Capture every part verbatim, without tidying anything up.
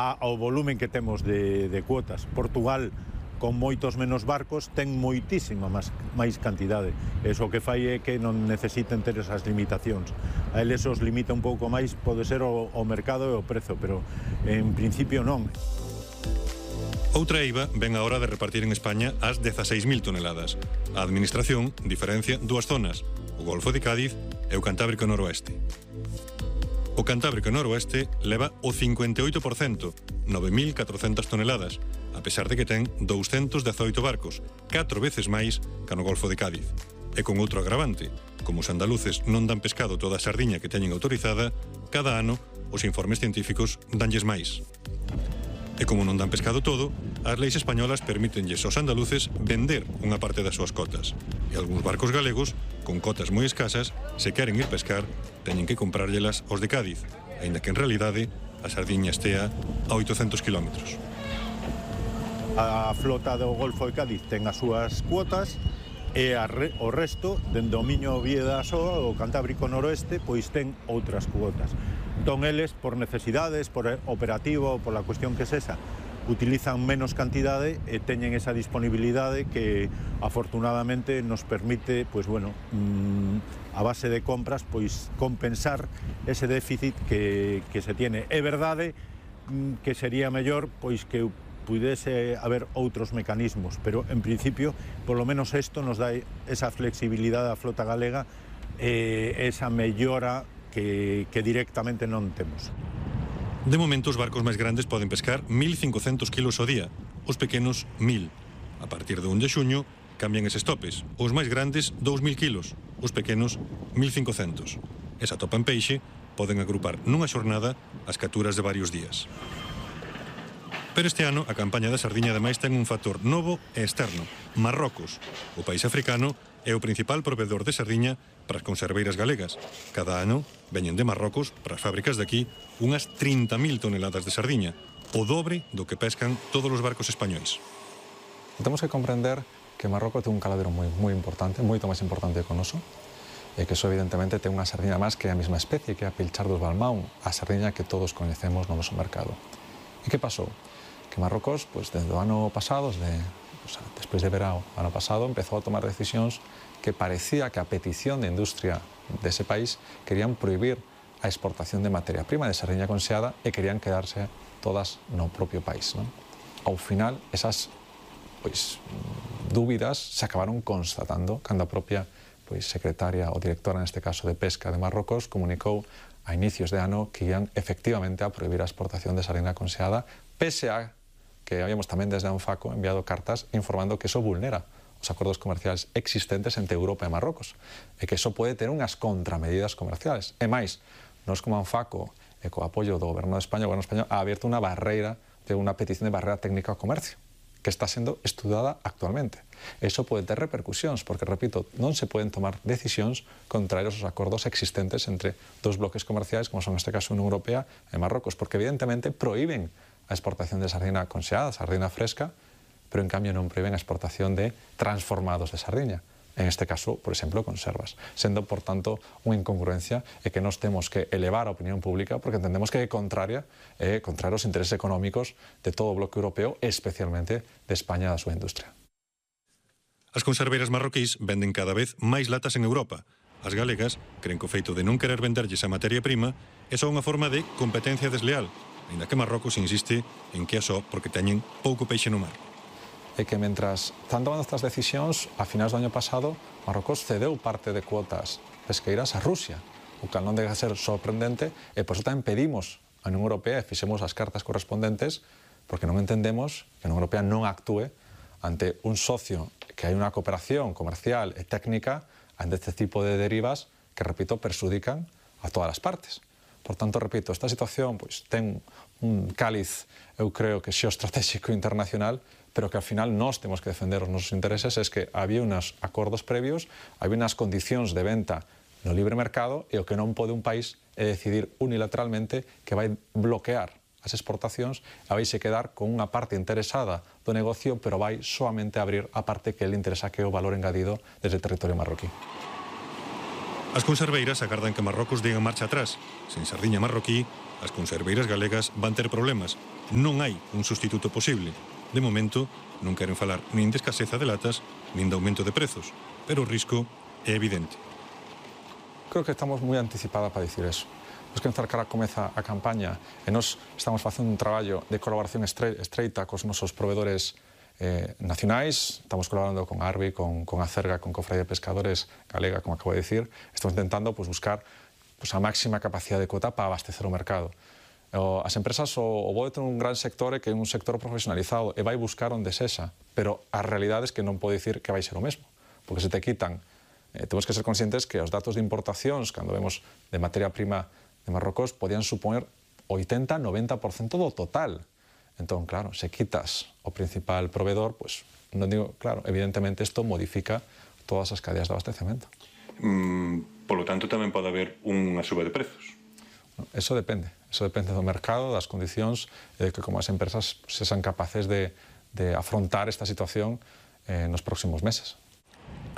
a, ao volumen que temos de, de cuotas. Portugal, con moitos menos barcos, ten moitísima máis, máis cantidade. Eso que fai é que non necesiten ter esas limitacións. A eles os limita un pouco máis, pode ser o, o mercado e o prezo, pero en principio non. Outra eiva ven a hora de repartir en España as dezaseis mil toneladas. A Administración diferencia dúas zonas, o Golfo de Cádiz e o Cantábrico Noroeste. O Cantábrico Noroeste leva o cincuenta e oito por cento, nove mil catrocentas toneladas, a pesar de que ten douscentos dezaoito barcos, catro veces máis que no Golfo de Cádiz. E con outro agravante, como os andaluces non dan pescado toda a sardiña que teñen autorizada, cada ano os informes científicos danlles máis. E como non dan pescado todo, as leis españolas permítenlles aos andaluces vender unha parte das súas cotas. E algúns barcos galegos, con cotas moi escasas, se queren ir pescar, teñen que comprárllelas aos de Cádiz, aínda que en realidade a sardiña estea a oitocentos kilómetros. A flota do Golfo de Cádiz ten as súas cuotas e a re, o resto, dende o Miño Vieda Soa, o Cantábrico Noroeste, pois ten outras cuotas. Entón, eles, por necesidades, por operativo, por la cuestión que es esa, utilizan menos cantidade e teñen esa disponibilidade que afortunadamente nos permite, pues bueno, mmm, a base de compras, pois compensar ese déficit que, que se tiene. É verdade mmm, que sería mellor pois que pudese haber outros mecanismos, pero en principio, polo menos isto nos dá esa flexibilidade á flota galega e eh, esa mellora que, que directamente non temos. De momento, os barcos máis grandes poden pescar mil cincocentos kilos ao día, os pequenos mil. A partir do un de xuño cambian eses topes. Os máis grandes dous mil kilos, os pequenos mil cincocentos. E se atopan peixe, poden agrupar nunha xornada as capturas de varios días. Pero este ano a campaña da sardiña ademais ten un factor novo e externo. Marrocos, o país africano, é o principal proveedor de sardiña para as conserveiras galegas. Cada ano veñen de Marrocos para as fábricas de aquí unhas trinta mil toneladas de sardiña, o dobre do que pescan todos os barcos españois. Temos que comprender que Marrocos ten un caladero moi, moi importante, moito máis importante que o noso, e que eso evidentemente ten unha sardiña máis que a mesma especie, que é a Pilchar dos Balmaún, a sardiña que todos coñecemos no noso mercado. E que pasou? Que Marrocos, pues, desde o ano pasado, desde, o sea, despois de verao, ano pasado, empezou a tomar decisións que parecía que a petición de industria dese país querían prohibir a exportación de materia prima de sardiña conxeada e querían quedarse todas no propio país, non? Ao final, esas pois, dúbidas se acabaron constatando cando a propia pois, secretaria ou directora, neste caso de Pesca de Marrocos, comunicou a inicios de ano que ian efectivamente a prohibir a exportación de sardiña conxeada, pese a que habíamos tamén desde a Anfaco enviado cartas informando que eso vulnera os acordos comerciais existentes entre Europa e Marrocos e que eso pode ter unhas contramedidas comerciales. E máis, nós como Anfaco e co apoio do Goberno de España, o Goberno español ha abierto unha barreira de unha petición de barrera técnica ao comercio que está sendo estudada actualmente. Eso pode ter repercusións porque, repito, non se poden tomar decisións contrarios aos acordos existentes entre dos bloques comerciais como son neste caso a Unión Europea e Marrocos, porque evidentemente prohíben a exportación de sardina conxeada, sardina fresca, pero en cambio non prohíben a exportación de transformados de sardiña. En este caso, por exemplo, conservas. Sendo, por tanto, unha incongruencia e que nos temos que elevar a opinión pública porque entendemos que é contraria, é contraria aos intereses económicos de todo o bloque europeo e especialmente de España e da súa industria. As conserveiras marroquís venden cada vez máis latas en Europa. As galegas creen que o feito de non querer venderlles a materia prima é só unha forma de competencia desleal, ainda que Marrocos insiste en que é só porque teñen pouco peixe no mar. É que mentras están tomando estas decisións, a finais do ano pasado, Marrocos cedeu parte de cuotas pesqueiras a Rusia, o cal non deja ser sorprendente, e por iso tamén pedimos a Unión Europea e fixemos as cartas correspondentes, porque non entendemos que a Unión Europea non actúe ante un socio que hai unha cooperación comercial e técnica ante este tipo de derivas que, repito, perxudican a todas as partes. Por tanto, repito, esta situación pois, ten un cáliz, eu creo que xeoestratégico internacional, pero que ao final nós temos que defender os nosos intereses, é que había uns acordos previos, había unhas condicións de venta no libre mercado e o que non pode un país é decidir unilateralmente que vai bloquear as exportacións e vai se quedar con unha parte interesada do negocio, pero vai soamente abrir a parte que le interesa, que é o valor engadido desde o territorio marroquí. As conserveiras agardan que Marrocos diga marcha atrás. Sen sardiña marroquí as conserveiras galegas van ter problemas. Non hai un sustituto posible. De momento, non queren falar nin de escaseza de latas, nin de aumento de prezos, pero o risco é evidente. Creo que estamos moi anticipadas para dicir eso. Pois que encercar comeza a campaña e nos estamos facendo un traballo de colaboración estreita cos nosos proveedores eh, nacionais, estamos colaborando con Arbi, con, con Acerga, con Cofradía de Pescadores Galega, como acabo de decir, estamos intentando pues, buscar pues, a máxima capacidade de cota para abastecer o mercado. O, as empresas o, o vou ter un gran sector que é un sector profesionalizado e vai buscar onde sexa, pero a realidade é que non pode dicir que vai ser o mesmo, porque se te quitan, eh, temos que ser conscientes que os datos de importacións, cando vemos de materia prima de Marrocos, podían suponer oitenta a noventa por cento do total. Entón, claro, se quitas o principal proveedor, pues, non digo, claro, evidentemente isto modifica todas as cadeas de abastecemento. Mm, polo tanto, tamén pode haber unha suba de prezos. Eso depende, eso depende do mercado, das condicións, e de que como as empresas sexan capaces de, de afrontar esta situación eh, nos próximos meses.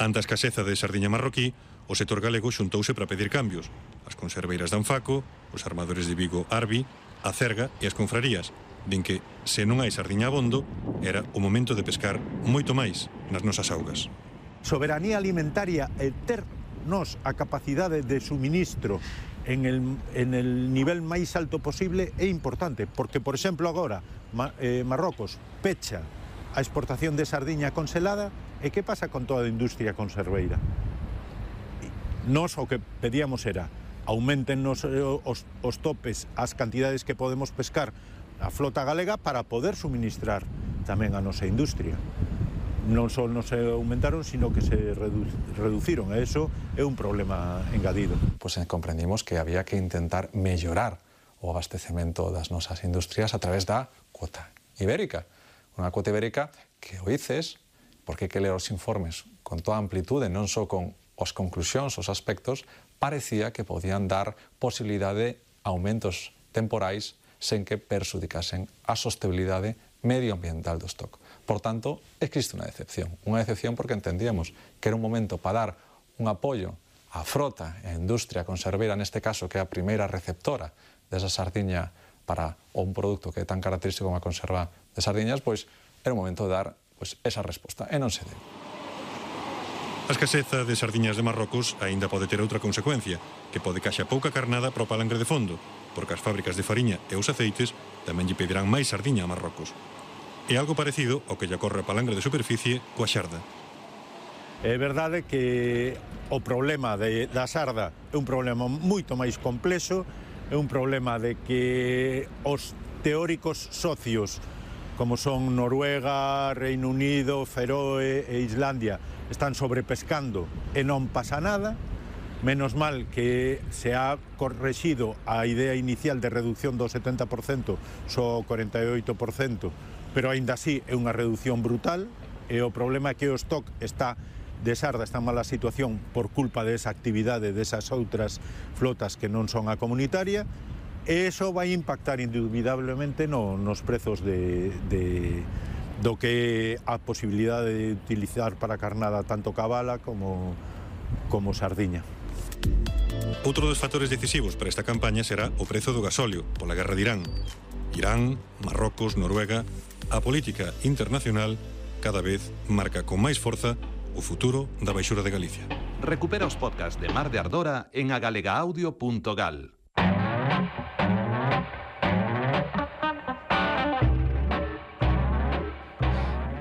Ante a escaseza de sardiña marroquí, o sector galego xuntouse para pedir cambios. As conserveiras de Anfaco, os armadores de Vigo Arbi, a Cerga e as confrarías, din que, se non hai sardiña abondo, era o momento de pescar moito máis nas nosas augas. Soberanía alimentaria e ter nos a capacidade de suministro en el, en el nivel máis alto posible é importante, porque, por exemplo, agora Ma, eh, Marrocos pecha a exportación de sardiña congelada, e que pasa con toda a industria conserveira? Nos o que pedíamos era aumenten os, os, os topes, as cantidades que podemos pescar a flota galega para poder suministrar tamén a nosa industria. Non só non se aumentaron, sino que se redu reduciron. E iso é un problema engadido. Pois pues comprendimos que había que intentar mellorar o abastecemento das nosas industrias a través da cuota ibérica. Unha cuota ibérica que o dices, porque hai que ler os informes con toda amplitude, non só con as conclusións, os aspectos, parecía que podían dar posibilidade de aumentos temporais sen que perxudicasen a sostenibilidade medioambiental do stock. Por tanto, existe unha decepción. Unha decepción porque entendíamos que era un momento para dar un apoio á frota e á industria conserveira, neste caso, que é a primeira receptora desa sardiña para un produto que é tan característico como a conserva de sardiñas, pois era un momento de dar pois, esa resposta, e non se deu. A escaseza de sardiñas de Marrocos aínda pode ter outra consecuencia, que pode que haxa pouca carnada para o palangre de fondo, porque as fábricas de fariña e os aceites tamén lle pedirán máis sardiña a Marrocos. É algo parecido ao que lle ocorre a palangre de superficie coa xarda. É verdade que o problema de, da xarda é un problema moito máis complexo, é un problema de que os teóricos socios, como son Noruega, Reino Unido, Feroe e Islandia, están sobrepescando e non pasa nada. Menos mal que se ha correxido a idea inicial de reducción do setenta por cento só cuarenta e oito por cento, pero aínda así é unha reducción brutal, e o problema é que o stock está de xarda, está en mala situación por culpa desa actividade desas outras flotas que non son a comunitaria, e iso vai impactar indubidablemente no, nos prezos de, de, do que a posibilidade de utilizar para carnada tanto cabala como, como sardiña. Outro dos factores decisivos para esta campaña será o prezo do gasóleo pola guerra de Irán. Irán, Marrocos, Noruega, a política internacional cada vez marca con máis forza o futuro da baixura de Galicia. Recupera os podcasts de Mar de Ardora en agalegaaudio punto gal.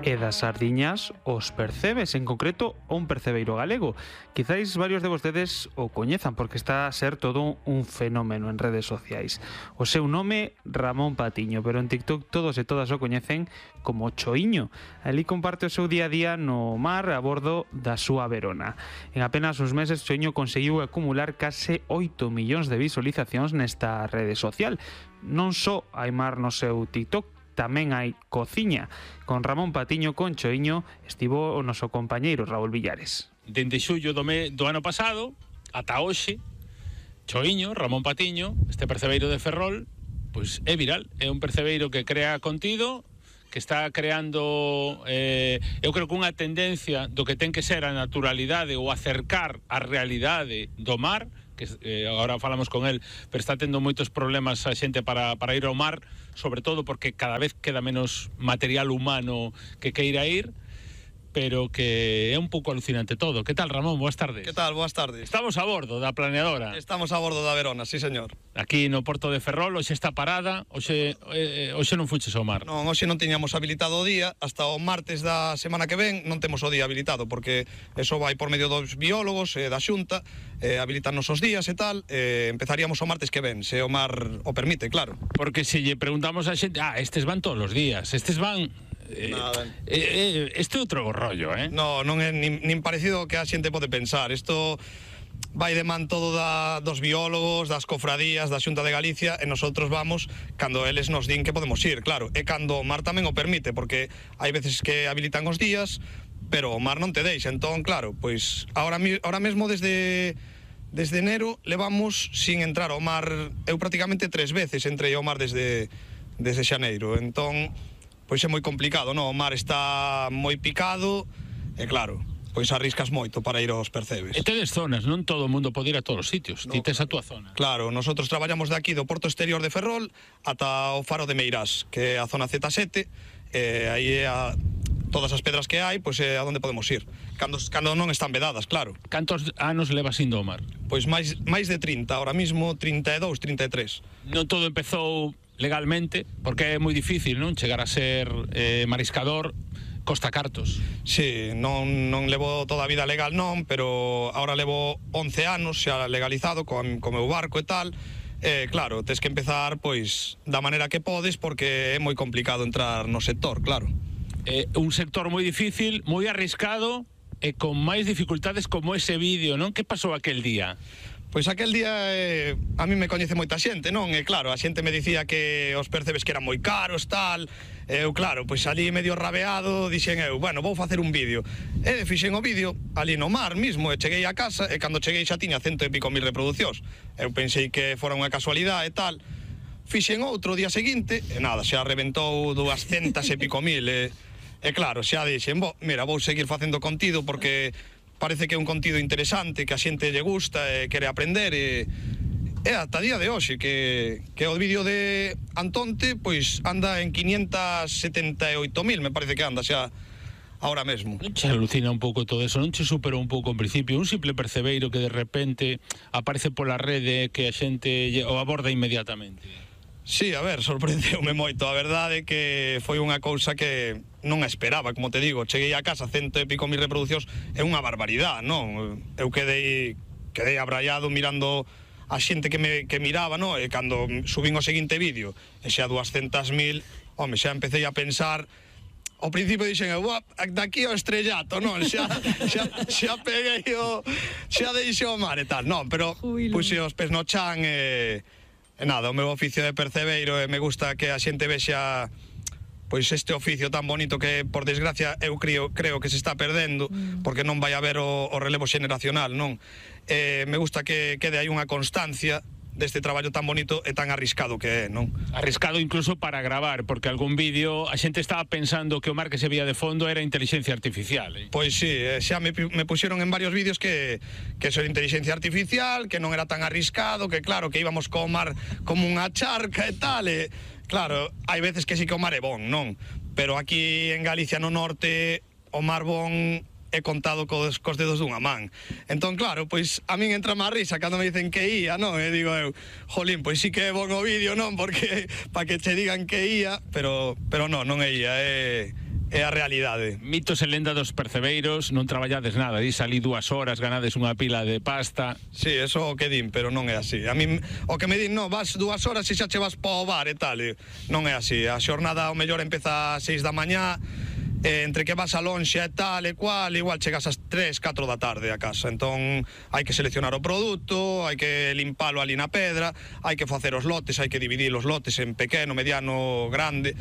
E das sardiñas os percebes, en concreto un percebeiro galego. Quizáis varios de vostedes o coñezan porque está a ser todo un fenómeno en redes sociais. O seu nome, Ramón Patiño, pero en TikTok todos e todas o coñecen como Choiño. Ali comparte o seu día a día no mar a bordo da súa Verona. En apenas uns meses Choiño conseguiu acumular case oito millóns de visualizacións nesta rede social. Non só hai mar no seu TikTok, tamén hai cociña. Con Ramón Patiño, con Choiño, estivo o noso compañeiro Raúl Villares. Dende xullo do, me, do ano pasado ata hoxe, Choiño, Ramón Patiño, este percebeiro de Ferrol, pois é viral. É un percebeiro que crea contido, que está creando, eh, eu creo que unha tendencia do que ten que ser a naturalidade ou acercar a realidade do mar que eh, agora falamos con el, pero está tendo moitos problemas a xente para, para ir ao mar, sobre todo porque cada vez queda menos material humano que queira ir, pero que é un pouco alucinante todo. Que tal, Ramón? Boas tardes. Que tal? Boas tardes. Estamos a bordo da planeadora. Estamos a bordo da Verona, sí, señor. Aquí no Porto de Ferrol, hoxe está parada, hoxe, eh, hoxe non fuches ao mar. Non, hoxe non tiñamos habilitado o día, hasta o martes da semana que ven non temos o día habilitado, porque eso vai por medio dos biólogos e eh, da xunta, eh, habilitarnos os días e tal, eh, empezaríamos o martes que ven, se o mar o permite, claro. Porque se lle preguntamos a xente, ah, estes van todos os días, estes van... Eh, eh, eh, este é outro rollo, eh? No, non é nin, nin parecido que a xente pode pensar. Isto vai de man todo da, dos biólogos, das cofradías, da Xunta de Galicia, e nosotros vamos cando eles nos din que podemos ir, claro. E cando o mar tamén o permite, porque hai veces que habilitan os días, pero o mar non te deixa. Entón, claro, pois ahora, ahora mesmo desde... Desde enero levamos sin entrar ao mar. Eu prácticamente tres veces entrei ao mar desde, desde xaneiro. Entón, pois é moi complicado, non? O mar está moi picado e claro, pois arriscas moito para ir aos percebes. E tedes zonas, non todo o mundo pode ir a todos os sitios, no, ti tes a túa zona. Claro, nosotros traballamos de aquí do Porto Exterior de Ferrol ata o Faro de Meirás, que é a zona zeta sete, e aí é a... todas as pedras que hai, pois é a onde podemos ir. Cando, cando non están vedadas, claro. Cantos anos levas indo ao mar? Pois máis, máis de trinta, ahora mismo trinta e dous, trinta e tres. Non todo empezou legalmente, porque é moi difícil, non? Chegar a ser eh, mariscador, costa cartos. Sí, non, non levo toda a vida legal non, pero ahora levo once anos xa legalizado con, con meu barco e tal. Eh, claro, tes que empezar pois da maneira que podes, porque é moi complicado entrar no sector, claro. Eh, un sector moi difícil, moi arriscado e con máis dificultades como ese vídeo, non? Que pasou aquel día? Pois aquel día eh, a mí me coñece moita xente, non? E claro, a xente me dicía que os percebes que eran moi caros, tal. Eu, claro, pois ali medio rabeado, dixen eu, bueno, vou facer un vídeo. E fixen o vídeo ali no mar mismo, e cheguei a casa, e cando cheguei xa tiña cento e pico mil reproduccións. Eu pensei que fora unha casualidade e tal. Fixen outro día seguinte, e nada, xa reventou duascentas e pico mil, e... E claro, xa dixen, bo, mira, vou seguir facendo contido porque parece que é un contido interesante, que a xente lle gusta e quere aprender e, e ata día de hoxe que, que o vídeo de Antonte pois anda en quinientas setenta e oito mil, me parece que anda xa ahora mesmo. Non che alucina un pouco todo eso, non che superou un pouco en principio un simple percebeiro que de repente aparece pola rede que a xente o aborda inmediatamente? Sí, a ver, sorprendeume moito. A verdade é que foi unha cousa que non a esperaba, como te digo. Cheguei a casa, cento e pico mil reproducións, é unha barbaridade, non? Eu quedei, quedei abraiado mirando a xente que me que miraba, non? E cando subín o seguinte vídeo, e xa duascentas mil, home, xa empecé a pensar... Ao principio dixen, daqui ao estrellato, non? Xa, xa, xa peguei o... xa deixei o mar e tal, non? Pero puxe os pés no chan e... E nada, o meu oficio de percebeiro e me gusta que a xente vexa pois este oficio tan bonito que, por desgracia, eu creo, creo que se está perdendo porque non vai haber o, o relevo xeneracional, non? E me gusta que quede aí unha constancia deste traballo tan bonito e tan arriscado que é, non? Arriscado incluso para gravar, porque algún vídeo a xente estaba pensando que o mar que se veía de fondo era inteligencia artificial, eh? Pois sí, xa me, me puxeron en varios vídeos que, que eso era inteligencia artificial, que non era tan arriscado, que claro, que íbamos co mar como unha charca e tal, e claro, hai veces que sí que o mar é bon, non? Pero aquí en Galicia no norte o mar bon é contado cos, cos dedos dunha man. Entón, claro, pois a min entra má risa cando me dicen que ía, non? E digo eu, jolín, pois sí que é bon o vídeo, non? Porque para que che digan que ía, pero pero non, non é ía, é é a realidade. Mitos e lenda dos percebeiros, non traballades nada, dis ali dúas horas, ganades unha pila de pasta. Sí, eso o que din, pero non é así. A min, o que me din, non, vas dúas horas e xa che vas pa o bar e tal, e non é así. A xornada ao mellor empeza a seis da mañá, Eh, entre que vas a lonxe e tal e cual, igual chegas ás tres, catro da tarde a casa. Entón hai que seleccionar o produto, hai que limpalo ali na pedra, hai que facer os lotes, hai que dividir os lotes en pequeno, mediano, grande,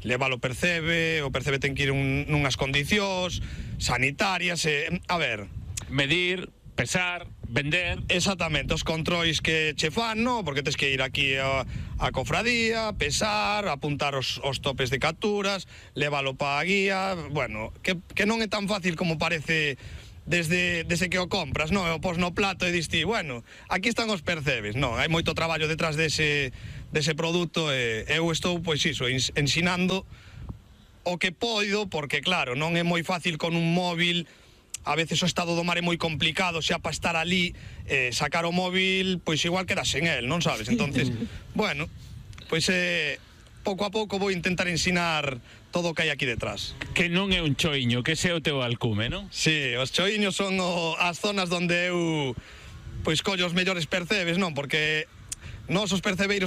leválo percebe, o percebe ten que ir un, nunhas condicións sanitarias e, a ver, medir, pesar, vender. Exactamente, os controis que che fan, no? Porque tens que ir aquí a, a cofradía, pesar, apuntar os, os topes de capturas, leválo pa a guía. Bueno, que, que non é tan fácil como parece desde, desde que o compras, non? E o pos no plato e diste, bueno, aquí están os percebes. Non, hai moito traballo detrás dese, dese produto e eu estou, pois iso, ensinando o que poido, porque claro, non é moi fácil con un móvil. A veces o estado do mar é moi complicado, xa para estar ali, eh, sacar o móvil, pois igual quedas en el, non sabes? Entonces, bueno, pois eh, pouco a pouco vou intentar ensinar todo o que hai aquí detrás. Que non é un choiño, que ese é o teu alcume, non? Sí, os choiños son o, as zonas onde eu pois collo os mellores percebes, non? Porque nós os percebeiros